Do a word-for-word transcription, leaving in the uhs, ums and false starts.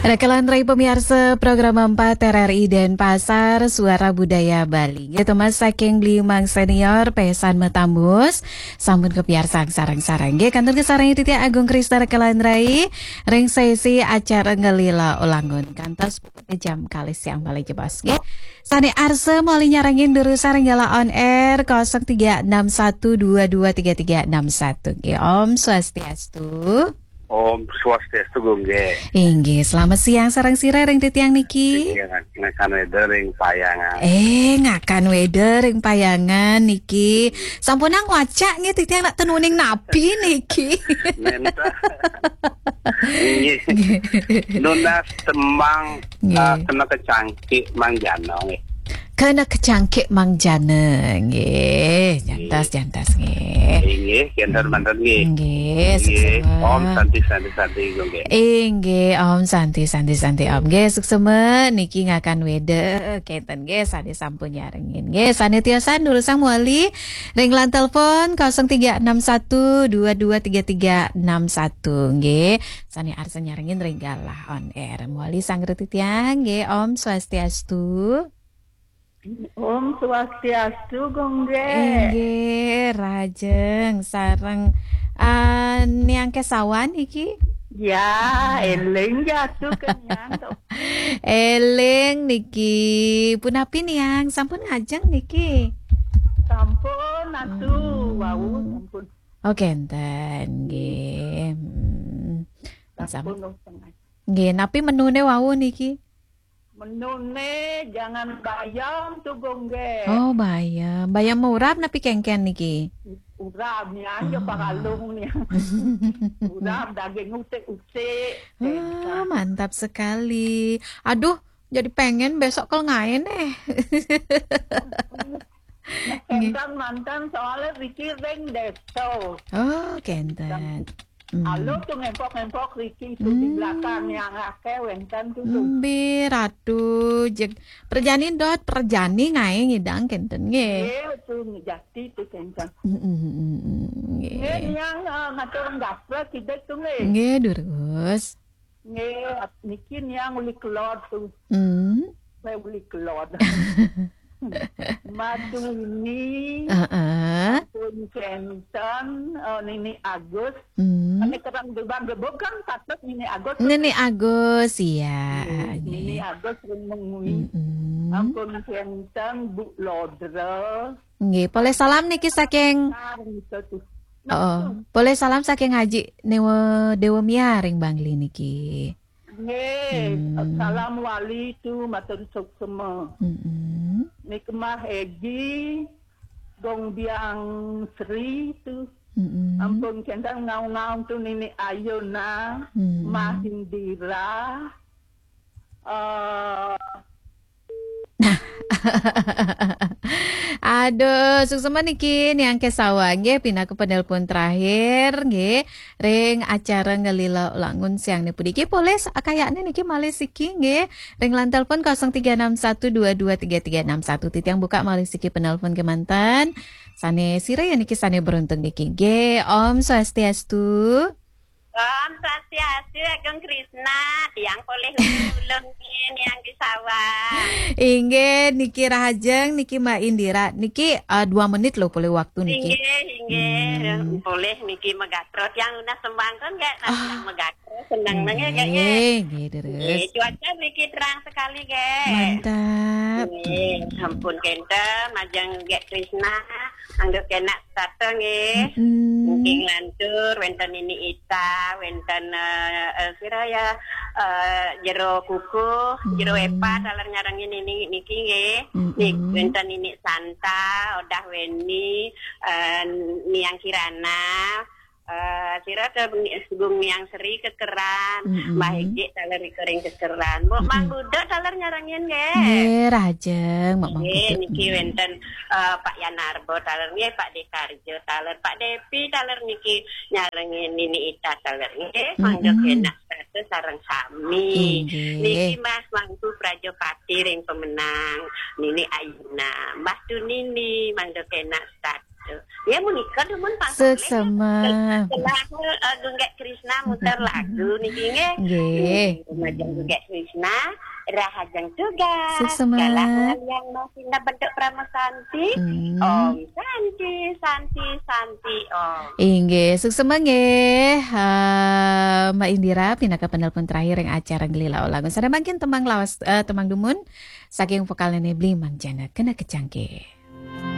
Raka lan rai pamiarsa program empat R R I Denpasar, Suara Budaya Bali. Nggih, Thomas saking Blimang Senior, pesan matambus. Sampun kapiarsa sareng-sareng. Nggih, kantun kasarengin titiang Agung Krisna raka lan rai ring sesi acara Ngelila Ulangun. Kantos jam kalih siang malih jebos. Nggih. Sane arsa malih nyarengin durus sareng Ngelila on air kosong tiga enam satu dua dua tiga tiga enam satu. Nggih, Om Swastiastu. Om Swastiastu, Gung, nggih. Inggih, selamat siang sareng sira ring titiang niki. Inggih, ngakan weda ring Payangan. Eh, ngakan weda ring Payangan niki. Sampun ngwacak nggih titiang nak ten uning napi niki. Nenten. Inggih. Nunas tembang, Nggih. Ah, kena kecangkik Mang Jana, nggih. Kena kecangkik Mang Jana, nggih. Jantos, Nggih. jantos, nggih. Inggih, kenten manten, nggih. Nggih, Inggih. suksma. Om Santi, Santi, Santi, Gung, nggih. Inggih, Om Santi, Santi, Santi, Om. Nggih, suksma niki ngakan weda, kenten, nggih, sane sampun nyarengin. Nggih, sane tiosan durusang malih ring line telepon kosong tiga enam satu dua dua tiga tiga enam satu, nggih. Sane arsa nyarengin ring galah on air. Malih sareng titiang, nggih, Om Swastiastu. Om Swastiastu, Gung, nggih. Inggih, rahajeng sareng, ah, Niang Kesawan iki? Ya, Hmm. eling jatuh ke Niang to. Eling niki. Punapi Niang, sampun ngajeng niki? Sampun, atuh, Hmm. wau, sampun. Oh, kenten, nggih. Hmm. Sampun, Sam- wau, sampun. Nggih, napi menune wau niki? Menune jangan bayam tuh, Gung, nggih. Oh, bayam. Bayam urap napi kengken niki? Urap, Niang, ya, Oh. pakalung, Niang. Urap, daging utik-utik. Ah, mantap sekali. Aduh, jadi pengen besok kalau ngain, eh. Nggih. Kenten manten soalnya riki ring desa. Oh, kenten. Hmm. Halo tuh ngempok-ngempok riki tuh di Hmm. belakang yang akeh wenten tuh, tuh. Mbe, Ratu, jeg, perjani dot, perjani ngae ngidang kenten nggih. Nggih, tuh jati tuh kenten. Mm, mm, mm, mm, nggih. Nggih, Niang, eh, ngatur nggaprek sidik tuh, nggih. Nggih, durus. Nggih, niki Niang uli kelod tuh. Hmm. Saya uli kelod. Maduni, Heeh. Pun Kenten, eh, Nini Agus. Hmm. Ane kerang gebang gebuk kan patut Nini Agus. Nini Agus, iya. Nggih, Nini nggih. Agus ring mengwi. Mm-mm. Ampun Kenten, Bu Lodra. Nggih, polih salam niki saking Nah, gitu tuh. Oh, polih salam saking Haji Dewa, Dewa Mia ring Bangli niki. Nggih, Hmm. salam wali tu matur suksma. Mm-mm. Nikmah Egi, Gong Biang Sri tu. Mm-mm. Ampun Kenten ngaung-ngaung tu Nini Ayuna, Hmm. Mah Indira. Eh, Aduh, suksma niki Niang Kesawan nggih, pinaka penelpon terakhir nggih ring acara Ngelila Ulangun siang niki. Polih sa-, kayakne niki malih siki nggih. Ring line telepon kosong tiga enam satu dua dua tiga tiga enam satu. Titiang buka malih siki penelpon kemanten. Sane sira ya niki sane beruntung niki nggih. Om Swastiastu. Om Swastiastu, Agung Krisna, tiang polih ulun nggih, Niang Kesawan. Inggih, niki rahajeng, niki Mbak Indira. Niki, eh, dua menit lho polih waktu niki. Inggih, inggih. Hmm. Polih niki megatro. Tiang nunas tembang kan nggih, nah, Ah. tiang megatro, seneng nggih, nggih, nggih. Nggih, nggih, terus. Nggih, cuaca niki terang sekali nggih. Mantap. Nggih, ampun Kenten, majeng nggih Krisna, anggap kena Sata nggih. Mm-mm. Nggih lantur, wenten Nini Ita, wenten, eh, eh, sira ya, eh, Jero Kukuh, Jero Mm. Epa, taler nyarengin Nini niki nggih. Mm-mm. Nik, wenten Nini Santa, Odah Weni, eh, Niang Kirana, eh, sira ke Ni-, Gung Niang Sri kekeran, Mm-mm. Mbah Egi taler ring kekeran. Mbok Mang Mm-mm. Budo taler nyarengin nggih. Nggih, rahajeng, Mbok Mang Nggih, Budo. Niki Mm. wenten, eh, Pak Yanarbo taler nggih, Pak Dekarjo taler, Pak Depi taler niki nyarengin Nini Ita taler nggih, Mm-mm. mangga kenak satu sareng sami. Inggih. Niki Mbah Mangku Prajapati ring Pemenang, Nini Ayuna, Mbah Tunini mangga kenak satu. Ya, menika dumun panggung. Suksema. Setelah uh, Gunggak Krishna muter lagu niki nggih. Nggih. Majeng Gunggak Krishna, rahajeng tugas. Suksema. Galah yang masih bentuk Parama Santi. Hmm. Om Santi, Santi, Santi, Om. Inggih, suksema nggih. Ha, Mbak Indira pinaka penelpon terakhir ing acara Gelila Olangun. Sada mangkin tembang lawas eh, tembang dumun saking vokal Nene Bli Mangjana kena kecangke.